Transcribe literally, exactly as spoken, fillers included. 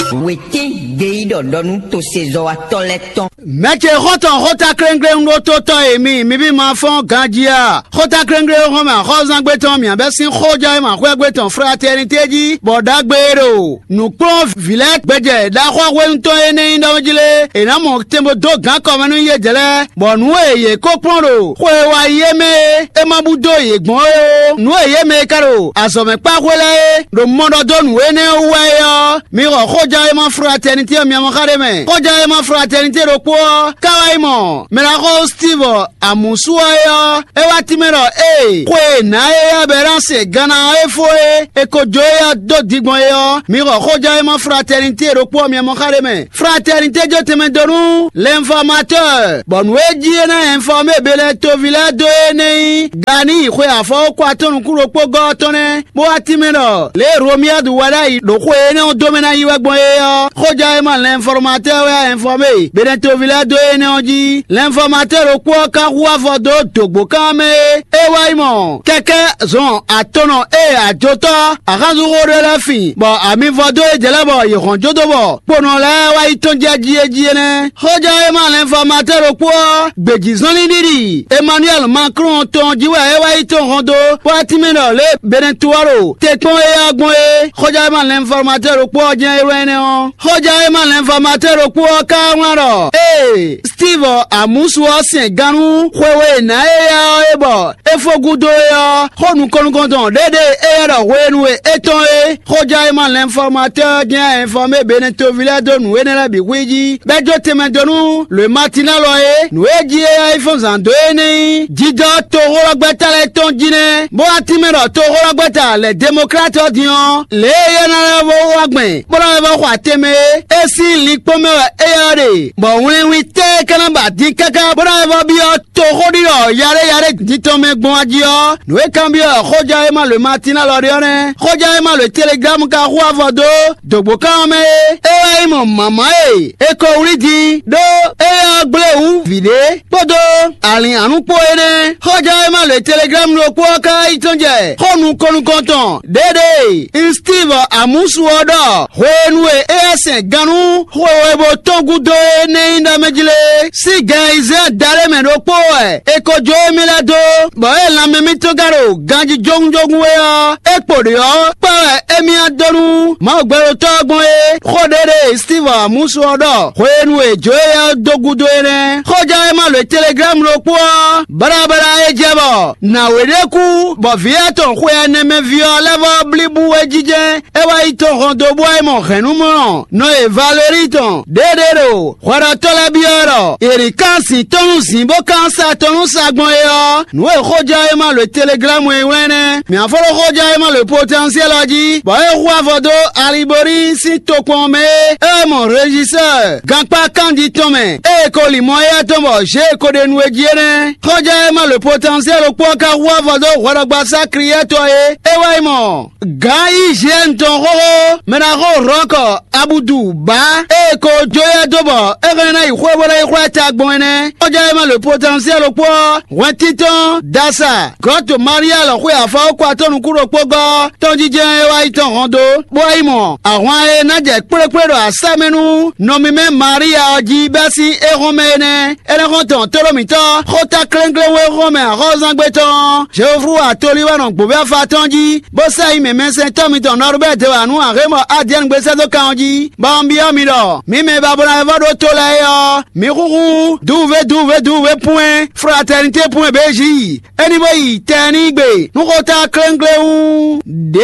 Wětín gbeyíɖɔ ɖɔ nú tosezɔ́watɔ́ lɛ́ɛ tɔn. Mɛ ce xɔ́ntɔn xóta kléŋkléŋ ɖótótɔ́ e mi, mi bí ma fɔ́n ganjí a? Xóta kléŋkléŋ xɔ́n mɛ axɔ́zángbé tɔn mǐ bɛ́ sín xójɔ́ e ma xwɛ́gbé tɔn fraternité jí, bɔ ɖagbe e ɖo nǔkplɔ́n vǐ lɛ́ɛ gbɛjɛ ɖaxó hwenu tɔn énɛ́ nyí ɖɔ jí lé, è nǎ mɔ tɛn bó dó gǎn kɔmɛ nú yě jɛ lɛ́ɛ, bɔ nǔ e yě ko kplɔ́n ɖo xwe e wá yi é mɛ é, é ma bú dó yě gbɔn é ó. Nǔ e yě mɛ e ka ɖo azɔ̌ mɛ kpá xwé lɛ́ɛ é ɖo mɔ ɖɔ dó nǔ énɛ́ wú wɛ é ɔ́, mi xɔ xójɔ́ e ma fraternité ɔ́ miamɔ xa ɖé mɛ. Xójɔ́ e ma fraternité ɖokpó ɔ́, ká wá yi mɔ mɛ ɖaxó Steve Amusu ɔ́ é ɔ́, é wá tínmɛ ɖɔ ée xwe e nǎ éyɛ́ Bɛranse Gana ɔ́ é fó é, è ko jó éyɛ́ dó din gbɔn é ɔ́, mi xɔ xójɔ́ e ma fraternité ɖokpó ɔ́ miamɔ xa ɖé mɛ. Fraternité jó tɛnmɛ dó nú l'informateur, bɔ nǔ e jí é ná informé Bɛnɛtoví lɛ́ɛ dó é nɛ́ nyí Gani xwe afɔwókɔ atɔ́ nukún ɖokpó gɔ́ ɔ́ tɔn nɛ́, bó wá tínmɛ ɖɔ lě e Romiyadu wɛ ɖ'ayǐ ɖo xwe énɛ́ ɔ́ dó mɛ ná yi wɛ gbɔn é ɔ́, xójɔ́ e ma l'informateur wɛ wá informé Bɛnɛtoví lɛ́ɛ dó énɛ́ ɔ́ jí. L'informateur ɖokpó ɔ́ ka hu avɔ dó dǒgbókan ɔ́ mɛ é, é wá yi mɔ kɛkɛ́ zɔn atɔnɔ e ajotɔ́ axánzúxó ɖé lɛ́ɛ fin, bɔ ami vɔ dó yě jɛ lɛ́ɛ bɔ yě hɔn jó dó bɔ kponɔ lɛ́ɛ wá yi tɔ́n jɛ jí é jí é nɛ́. Xójɔ́ e ma lɛnfɔmatɛ́ ɖokpó ɔ́, gbějízɔnlin ɖiɖi Emmanuel Macron tɔn jí wɛ é wá yi tɔ́n hɔn dó, bó wá tínmɛ ɖɔ lě e Benɛtu ɔ́ ɖo te kpɔ́n é ɔ́ gbɔn é. Xójɔ́ e ma lɛnfɔmatɛ́ ɖokpó ɔ́ jɛ́n é wɛ énɛ́ ɔ́. Xójɔ́ e ma lɛnfɔmatɛ́ ɖokpó ɔ́ ka wlán ɖɔ: Ee, Steve Amusu ɔ́ sɛn gannú xwe e è nǎ éyɛ́ ɔ́ é bɔ é fó gúdo é ɔ́, xó nukɔn-nukɔntɔn ɖěɖée éyɛ́ ɖɔ hwenu e é tɔ́n é, xójɔ́ e ma lɛnfɔmatɛ́ ɔ́ jɛ́n ɛnfɔmé Benɛtoví lɛ́ɛ dó nǔ énɛ́ lɛ́ɛ bǐ xwí jí, bɔ é jó tɛnmɛ dó nú lǒ e Matinɛ́lu ɔ́ é. Nǔ e jí éyɛ́ yi fɔ́n zǎn dó é nɛ́ nyí jijɔ toxóɖɔgbɛ́ta lɛ́ɛ tɔn jí nɛ́, bó wá tínmɛ ɖɔ toxóɖɔgbɛ́ta lɛ̌ Demɔklát ɔ́ din ɔ́, lě e éyɛ́ ná lɛ́ vɔ wá gbɛn, bó ná lɛ́ vɔ xɔ atɛn mɛ é, é sín linkpɔ́n mɛ wɛ éyɛ́ ɔ́ ɖe, bɔ wlɛnwin tɛ́ é ka ná ba din káká, bó ná lɛ́ vɔ byɔ́ toxóɖiɖɔ yaɖé yaɖé din tɔn mɛ gbɔn ají ɔ́, nǔ e kanbyɔ́ xójɔ e ma lǒ Matinɛ́lu ɔ́ ɖe ɔ́ nɛ́. Xójɔ e ma lǒ Teleglámu ka hu avɔ dó dǒgbókan ɔ́ mɛ é. É wɛ nyí mɔ mǎmá e è ko wlí din ɖó éyɛ́ ɔ́ gblé wǔ vǐ ɖé kpódó alǐnhanú kpó é nɛ́. Xójɔ e ma lǒ Teleglámu ɖokpó ɔ́ ka yi tɔ́n jɛ xó nukɔn nukɔntɔn ɖěɖée Stívu Amusu ɔ́ ɖɔ hwenu e éyɛ́ sɛn gannú xwe we bó tɔ́n gúdo é nɛ́ nyí ɖɔ mɛ jí lé, sín gɛn ayizɛ́n adaɖé mɛ ɖokpó wɛ è ko jó émí lɛ́ɛ dó, bɔ é lanmɛ mitɔn ka ɖo ganjí jógúnjógún wé ɔ́, é kpo ɖě ɔ́, kpɛ́ wɛ émí ná dó nú Mawu gbɛɖotɔ́ ɔ́ gbɔn é. Xó ɖé ɖe Stívu Amusu ɔ́ ɖɔ hwenu e è jó éyɛ́ ɔ́ dó gúdo é nɛ́. Xóján e ma lǒ Teleglámu ɖokpó ɔ́, baɖabaɖa é jɛ bɔ nǎwe ɖé kú, bɔ vǐ atɔn xwe ɛnɛ mɛ ví ɔ́ lɛ́ vɔ blí bú wé jijɛ. É wá yi tɔn hɔn dó bó wá yi mɔ hɛ̌nnumlɔ́ nɔ e Valéri tɔn ɖěɖé ɖo hwɛɖɔtɔ́ lɛ́ɛ byɔ́ ɖɔ è nǐ kán zǐn tɔn nú zǐn bó kán sa tɔn nú sa gbɔn é ɔ́, nǔ e xójɔ e ma lǒ Teleglámu e wlɛ́n nɛ́. Mǐ ná fó ɖó xójɔ e ma lǒ Potɛnsiɛ́li ɔ́ jí, bɔ é hu avɔ dó Alibori sín tokpɔn ɔ́ mɛ é, é wɛ mɔ Rejisɛ́ɛ gankpá kanjí tɔn mɛ, ée è ko lin mɔ éyɛ́ tɔn bɔ Zě e ko ɖe nu é jí é nɛ́. Xójɔ e ma lǒ Potɛnsiɛ́li ɖokpó ɔ́ ka hu avɔ dó hwɛɖɔgbasá Kliyɛ́tɔ é, é wá yi mɔ Gǎn Izyɛ́ɛnu tɔn xóxó, mɛ ɖaxó Rɔ̌kɔ Abudu Bǎ e è ko jó éyɛ́ dó bɔ é hɛn ná yi xwé bó ná yi xwlá ta gbɔn é nɛ́. Xɔjá e ma lǒ Potɛnsiɛ́li ɖokpó ɔ́, hwɛntíntɔ́n, dasa, Glɔ̌to Malia lɔ xwe afɔwókɔ atɔ́ nukún ɖokpó gɔ́ tɔ́njijɛ e wá yi tɔn hɔn dó, bó wá yi mɔ ahwan e ná jɛ kplékplé ɖo asá mɛ nú nɔ mímɛ́ Malia ɔ́ jí bɛ́ sín éhɔ́nmɛ é nɛ́. Énɛ́ xɔ́n tɔn tóɖó mǐtɔn xóta kléŋkléŋ e xɔ́n mɛ axɔ́zángbé tɔn ɔ́, Jeoflu atolíwánɔ gbǒvɛ́ afa tɔn jí, bó sɛ́ yi mɛmɛsɛntɔ́ mitɔn Nɔrubɛ́ɛ dó wǎ nú Ahémɔ Adiɛ́nu gbé sɛ́ dó kan ɔ́ jí, bɔ un byɔ́ mi ɖɔ mǐ mɛ e ba bló ayɛvɔ́ ɖó to lɛ́ɛ é ɔ́, mǐ xúxú dǔvúvé dǔvúvé dǔvúvé pwɛ́n fratɛnité pwɛ́n bějí, é ní bó yi tɛnígbe nú xóta kléŋkléŋ ɖě